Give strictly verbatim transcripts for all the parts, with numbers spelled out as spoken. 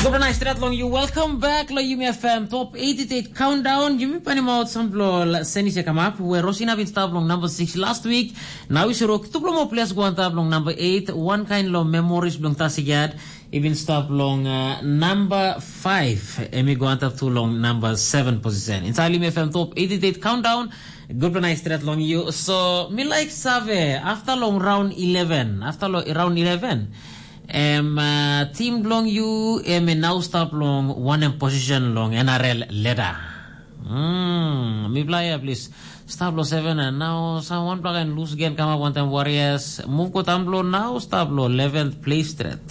Gupela nais stret long you. Welcome back lo Yumi F M Top eighty-eight Countdown. Yumi panim out sampela senis ya kamap, where Rosina bin stap long number six last week. Now is rok tuplo mo ples go antap long number eight. One kind lo memories belong Tasigiad. Even stap long uh, number five. Emi go antap tu long number seven position. Inside Yumi F M Top eighty-eight Countdown. Gupela nais stret long you. So, mi like save, after long round eleven, after lo, round eleven, em uh, team belong you, em e now stap long one em position long N R L ladder. Hmm, mi play ya please. Stap lo seven and now sa one plug and lose again come up one time Warriors. Move ko tamblo now stap lo eleventh place stret.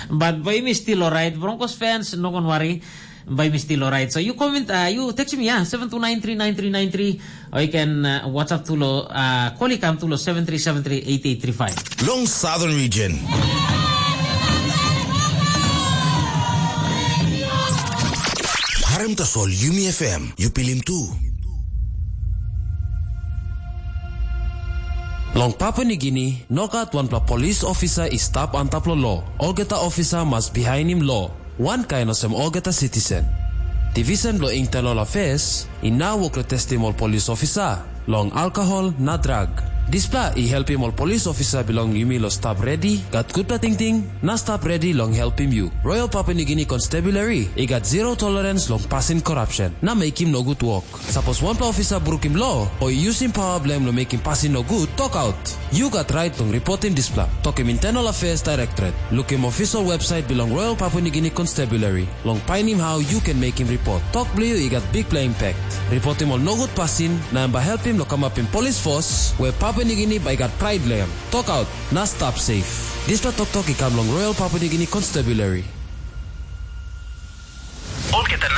But boy mi still alright. Broncos fans, no gon worry. By mi still alright. So you comment, uh, you text me, yeah, seven two nine three nine three nine three, or you can uh, WhatsApp tulo, uh, call ikam tulo seven three seven three eight eight three five. Long Southern Region. Harem tasol Yumi F M, you pilim tu. Long Papua Nigini, nogat wanpela polis ofisa i stap antap lo lo. Olgeta ofisa mas bihainim lo. Wankain olsem olgeta sitisen. Divisen bilong Internal Affairs i nau wok long testim ol polis ofisa long alkohol na drag. Dispela i helpim ol polis ofisa bilong yumi long stap redi, gat gutpela tingting, na stap redi long helpim yu. Royal Papua Nigini Constabulary i gat zero tolerance long pasin korapsen na mekim nogut wok. Sapos wanpela ofisa brukim lo o i yusim pawa bilong em long mekim pasin nogut, tokaut. Yu gat rait long ripotim dispela. Tokim Internal Affairs Directorate. Lukim official website bilong Royal Papua Nigini Constabulary long painim how yu ken mekim ripot. Tok bilong yu i gat bikpela impact. Ripotim ol nogut pasin na em bai helpim long kamapim polis fos we Papua Nigini bai gat prait long em. Tokaut na stap safe. Dispela toktok i kam long Royal Papua Nigini Constabulary. Olgeta